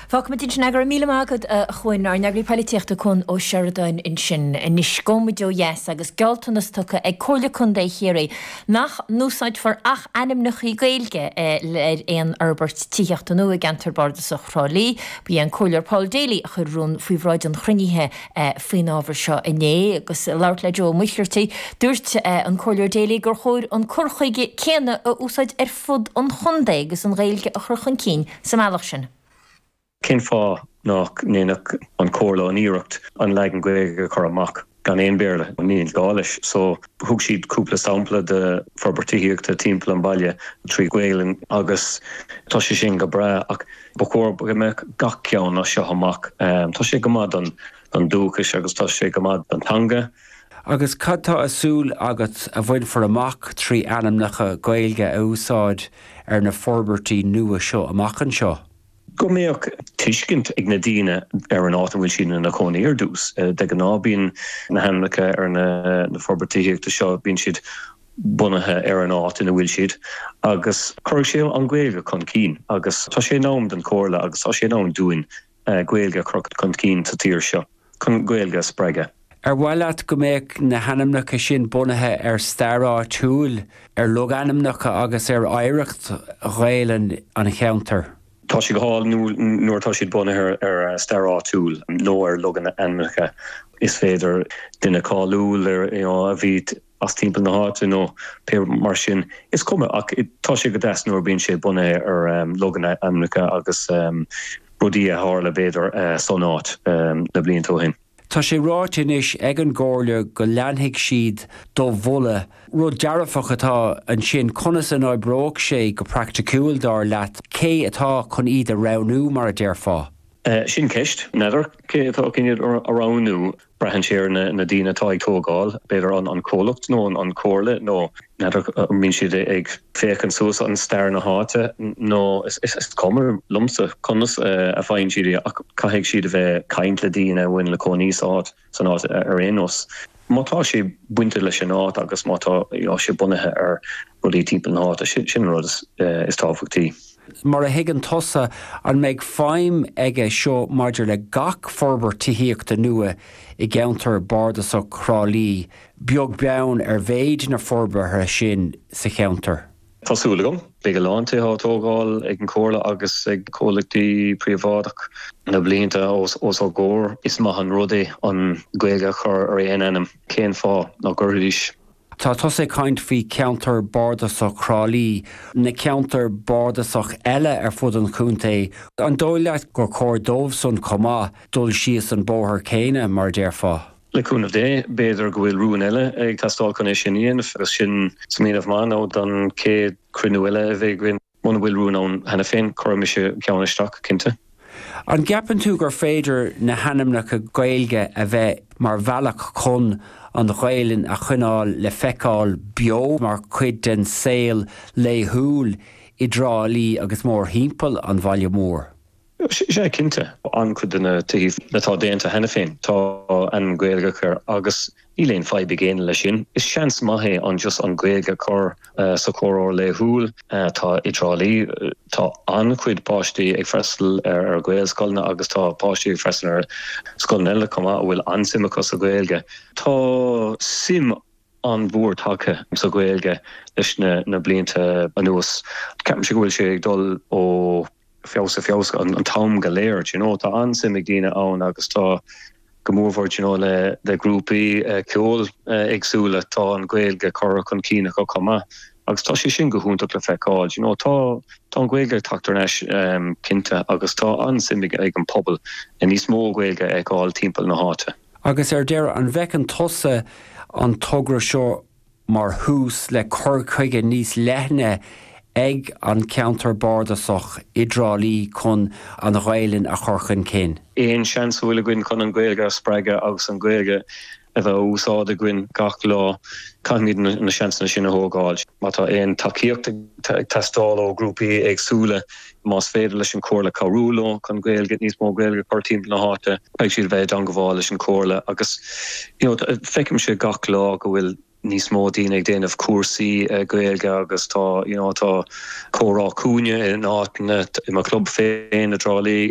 Fágfaimid ansin é. Go raibh míle maith agat, a Chuain. Ár n-eagraí poilitíochta Cuan Ó Seireadáin ansin. Anois, gabhfaidh muid ó dheas agus gealltanas tugtha ag Comhairle Contae Chiarraí nach n-úsáidfear ach ainmneacha Gaeilge ar aon fhorbairt tithíochta nua i gceantar bardasach Thrá Lí. Ba é an Comhairleoir Paul Daly a chuir rún faoi bhráid an chruinnithe faoin ábhar seo inné. Agus ag labhairt le Joe Ó Muircheartaigh, dúirt an Comhairleoir Daly gur chóir an cur chuige céanna a úsáid ar fud an chontae agus an Ghaeilge a chur chun cinn sa mbealach sin. Cén fáth nach ndéanfadh an Chomhairle an iarracht an leagan Gaeilge a chur amach gan aon Bhéarla? Níl gá leis. So, thug siad cúpla sampla de forbairt tithíochta timpeall an bhaile trí Ghaelainn agus tá sé sin go breá ach ba chóir go mbeadh gach ceann as seo amach. Tá sé go maith don don dúchais agus tá sé go maith don teanga. Agus cad tá á súil agat a bhainfear amach trí ainmneacha Gaeilge a úsáid ar na forbairtí nua seo amach anseo? Go mbeadh tuiscint ag na daoine ar an áit a bhfuil siad ina chónaí ar dtús. De ghnáth bíonn na hainmneacha ar na forbairtí tithíochta seo, bíonn siad bunaithe ar an áit ina bhfuil siad agus cuirfidh sé an Ghaeilge chun cinn agus tá sé in am don Chomhairle agus tá sé in am dúinn Gaeilge a chur chun cinn sa tír seo, chun Gaeilge a spreagadh. Ar mhaith leat go mbeadh na hainmneacha sin bunaithe ar stair áitiúil, ar logainmneacha agus ar oidhreacht Ghaelainn an cheantair? Tá sé go hálainn nuair atá siad bunaithe ar stair áitiúil nó ar logainmneacha. Is féidir duine cáiliúil a bhí as timpeall na háite nó pé mar sin. Is cuma ach tá sé go deas nuair a bíonn sé bunaithe ar logainmneacha agus rudaí a tharla b'fhéidir san áit na blianta ó shin. Tá sé ráite anois ag an gComhairle go leanfaidh siad do mholadh. Rud dearfach atá ansin. Conas a n-oibreoidh sé go praiticiúil, dar leat? Cé atá chun iad a roghnú, mar a déarfá? Sin ceist. N'fheadar cé atá chun iad a roghnú. Braitheann sé ar na daoine atá ag tógáil, b'fhéidir an comhlacht nó an chomhairle nó n'fheadar an mbíonn siad ag féachaint suas an stair na háite nó is cuma liomsa conas a faigheann siad í ach caithfidh siad a bheith ag caint le daoine a bhfuil ina cónaí sa áit san áit ar aon nós. Má tá sé bainte leis an áit agus má tá sé bunaithe ar rudaí timpeall na háite, sin an rud is tábhachtaí. Mar a thuigeann tusa, an mbeidh feidhm aige seo maidir le gach forbairt tithíochta nua i gceantar bardasach Thrá Lí, beag beann ar mhéid na forbartha sin sa cheantar? Tá súil agam. Beidh a lán tithe á dtógáil ag an Chomhairle agus ag comhlachtaí príobháideach na blianta os ár gcomhair. Is maith an rud é an Ghaeilge a chur ar aon ainm. Cén fáth nach gcuirfidís? Tá tusa ag caint faoi cheantar bardasach Thrá Lí, na ceantair bardasach eile ar fud an chontae, an dóigh leat gur chóir dóibhsan chomh maith dul síos an bóthar céanna, mar a déarfá? Le cúnamh Dé, b'fhéidir go bhfuil rún eile ag teastáil chun é sin a dhéanamh agus sin smaoineamh maith nó don chéad chruinniú eile a bheidh againn. Muna bhfuil rún ann cheana féin, cuirfidh mise ceann isteach, cinnte. An gceapann tú gur féidir na hainmneacha Gaeilge a bheith mar bhealach chun an Ghaelainn a choinneáil le feiceáil beo mar chuid den saol laethúil i dTrá Lí agus mórthimpeall an bhaile mhóir? Sea, cinnte. An-chuid de na tithí atá déanta cheana féin, tá ainm Gaeilge acu agus níl aon fadhb ag éinne leis sin. Is seans maith é an just an Ghaeilge a chur sa chomhrá laethúil. Tá i dTrá Lí, tá an-chuid páistí ag freastal ar Ghaelscoileanna agus tá páistí ag freastal ar scoileanna eile chomh maith a bhfuil an-suim acu sa Ghaeilge. Tá suim an-mhór tagtha sa Ghaeilge leis na blianta anuas. Ceapaimse go bhfuil sé ag dul ó feabhas go feabhas an t-am go léir, do you know. Tá an-suim ag daoine ann agus tá go mórmhór, do you know, le le grúpaí ceoil éagsúla, tá an Ghaeilge curtha chun cinn acu chomh maith agus tá sé sin go hiontach le feiceáil, do you know. Tá tá an Ghaeilge ag teacht thar n-ais cinnte agus tá an-suim ag ag an pobal níos mó Gaeilge a fheiceáil timpeall na háite. Agus ar deireadh, an bhfeiceann tusa an togra seo mar thús le cur chuige níos leithne ag an cheantar bardasach i dTrá Lí chun an Ghaelainn a chur chun cinn? Aon seans a bhfuil againn chun an Ghaeilge a spreagadh agus an Ghaeilge a bheith á úsáid againn gach lá, caithfimid na seansanna sin a thógáil. Má tá aon tacaíocht ag teastáil ó ghrúpaí éagsúla, más féidir leis an Chomhairle cabhrú leo chun Gaeilge, níos mó Gaeilge a chur timpeall na háite, caithfidh siad a bheith i dteangabháil leis an Chomhairle agus you know feicimse gach lá go bhfuil níos mó daoine ag déanamh cúrsaí Gaeilge agus tá you know tá comhrá cúinne in áiteanna, i mo chlub féin i dTrá Lí.